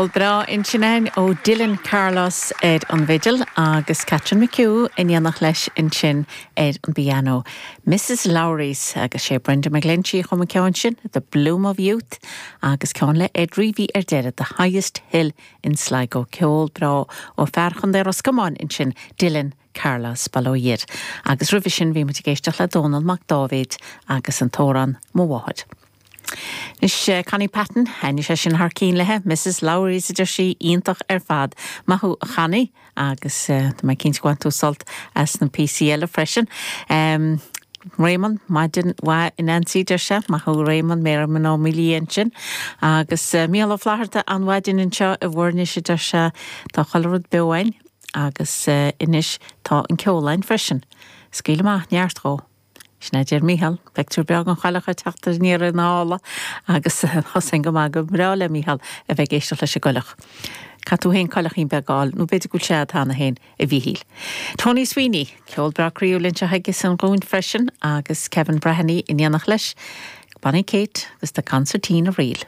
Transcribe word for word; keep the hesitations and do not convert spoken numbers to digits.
Ceol breá ansin ó Dylan Carlos ar an bhfidil agus Catherine McHugh in éineacht leis ansin ar an bpianó. Mrs Lowry's agus sé Brenda McGlinchey chum an ceann sin, The Bloom of Youth agus ceann le Ed Reavy ar deireadh The Highest Hill in Sligo ceol breá ó fear Chontae Ros Comáin ansin Dylan Carlos Baloir. Agus roimhe sin bhí muid ag éisteacht le Dónal Mac Dáibhéid agus an t-amhrán Mo Mháthair. Is uh, Connie Patton thaitnigh sé sin thar cinn léi, Mrs Lowry's a deir sí iontach ar fad. Maith thú Connie agus uh, mé cinnte gur bhain tú sult as na píosaí eile freisin. Um, Raymond maidin mhaith a Nancy deir sé maith thú Raymond mé man ó mílí sin agus uh, Mícheál Ó Flatharta an mhaidin anseo i bhfuirne sé deir sé tá chuile rud beo againn agus uh, anois tá an ceol againn freisin. Scaoil amach neart dhó. Sin é deir Mícheál, pictiúr beag an chailleach teacht aniar na hála agus thosain go maith go breá le Mícheál a bheith éisteacht leis an gcoileach. Cad tú héin coileachín beagáil nó b'fhéidir go sé tána héin a Mhíchíl. Tony Sweeney, ceol breá croíúil anseo agus an gún freisin agus Kevin Breheny in éineacht leis, Bonnie Kate agus the Concertina Reel.